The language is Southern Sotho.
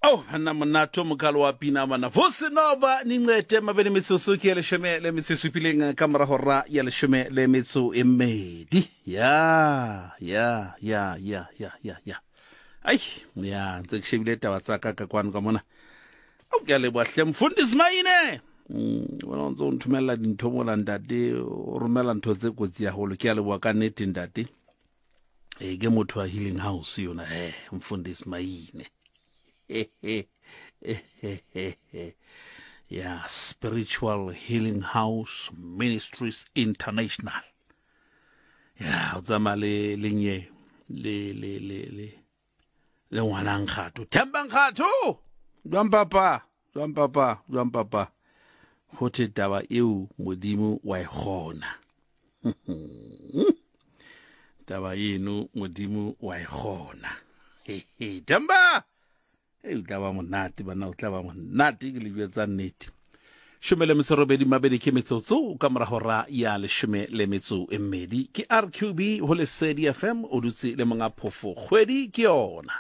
Oh, banna monate o mokalo wa pina bana. Vusi Nova nincede mabedi metsotso ke ya leshome le metso e supileng ka mora hora ya leshome le metso e mmedi. Ya, ya, ya, ya, ya, ya, ya. Ai, ya, ntse ke shebile taba tsa ka ka kwano ka mona. Au ke a leboha hle mfundisi Maine. Mm, wena o ntse o nthomella dintho mola ntate, o romela ntho tse kotsi haholo. Ke a leboha ka nnete ntate. E ke motho wa healing house yona he mfundisi Maine. Ya Spiritual Healing House Ministries International. Ya o tsamaya le le nye le le le le le ngwana Nkgatho. Themba Nkgatho. Jwang papa? Jwang papa? Jwang papa? Ho thwe taba eo Modimo wa e kgona. Taba eno Modimo wa e kgona. Themba! Ei, o tla ba monate bana, o tla ba monate ke le jwetsa nnete. Shome le metso robedi mabedi ke metsotso ka mora hora ya leshome le metso e mmedi ke RQB ho Lesedi FM o dutse le monga phofo kgwedi ke yona.